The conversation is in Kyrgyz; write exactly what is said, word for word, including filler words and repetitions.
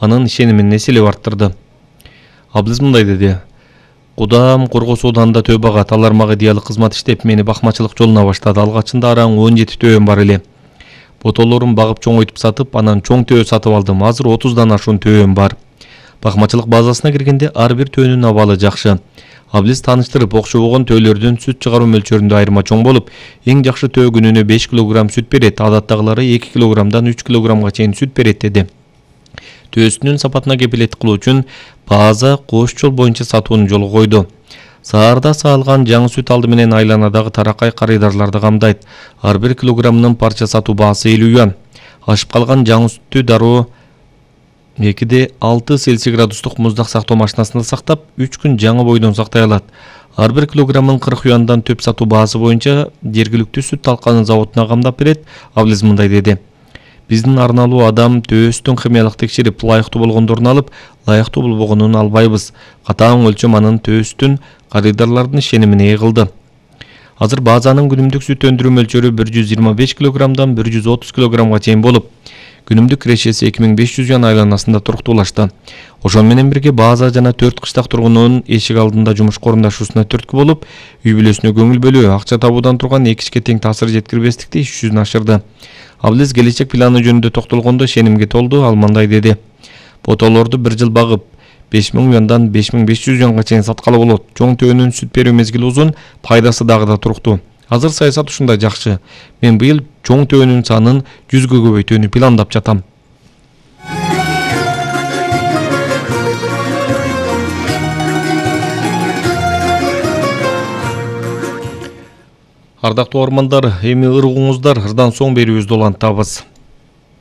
анын ишенимин эселеп арттырды. Аблиз мындай деди: Кудам Кургос ооданында төө багат, алар мага идеалык кызмат иштеп, мени бакмачылык жолуна баштады. Алгачында араң он жети төөм бар эле. Ботолорун багып чоңойтуп сатып, анан чоң төө сатып алдым. Азыр отуздан ашуун төөм бар. Бакмачылык базасына киргенде ар бир төөнүн абалы жакшы. Аблиз тааныштырып, окшобогон төөлөрдүн сүт чыгаруу мөлчөрүндө айырма чоң болуп, эң жакшы төө күнүнө беш килограмм сүт берет, адаттагылары эки килограммдан үч килограммга чейин сүт берет деди. Төөсүнүн сапатына кепилеттик кылуу үчүн база кош жол боюнча сатууну жолго койду. Саарда саалган жаңы сүт алды менен айланадагы таракай карыдарларды камдайт. Ар бир килограммынын парча сатуу баасы элүү юан. Ашып калган жаңы сүттү дароо экиде алты Цельсий градустук муздак сактоо машинасында сактап, үч күн жаңы бойдон сактай алат. Ар бир килограммын кырк юандан төп сатуу баасы боюнча жергиликтүү сүт талканы заводуна камдап берет. Аблиз мындай деди: Биздин арналуу адам төөстүн химиялык текшерип, ылайыктуу болгондорун алып, ылайыктуу болбогонун албайбыз. Катаң өлчөм анын төөстүн карыдарлардын ишенимине ээ кылды. Азыр базанын күнүмдүк сүт өндүрүү мөлчөрү бир жүз жыйырма беш килограммдан бир жүз отуз килограммга чейин болуп, күнүмдүк кирешеси эки миң беш жүз юан айланасында туруктуулашты. Ошону менен бирге база жана төрт кыштак тургунунун эшик алдында жумушка орундашуусуна түрткү болуп, үй бүлөсүнө көңүл бөлүү, акча табуудан турган эки ишке тең таасир жеткирбестикти иш жүзүнө ашырды. Аблиз келечек планы жөнүндө токтолгондо ишенимге толду. Ал мындай деди: Ботолорду бир жыл багып, беш миң юандан беш миң беш жүз юанга чейин саткалы болот. Чоң төөнүн сүт берүү мезгили узун, пайдасы дагы да туруктуу. Азыр саясат ушундай жакшы. Мен быйыл чоң төөнүн санын жүзгө көбөйтүүнү пландап жатам. Ардактуу ормандар, эми ыргууңуздар, ырдан соң берүүбүздү улантабыз.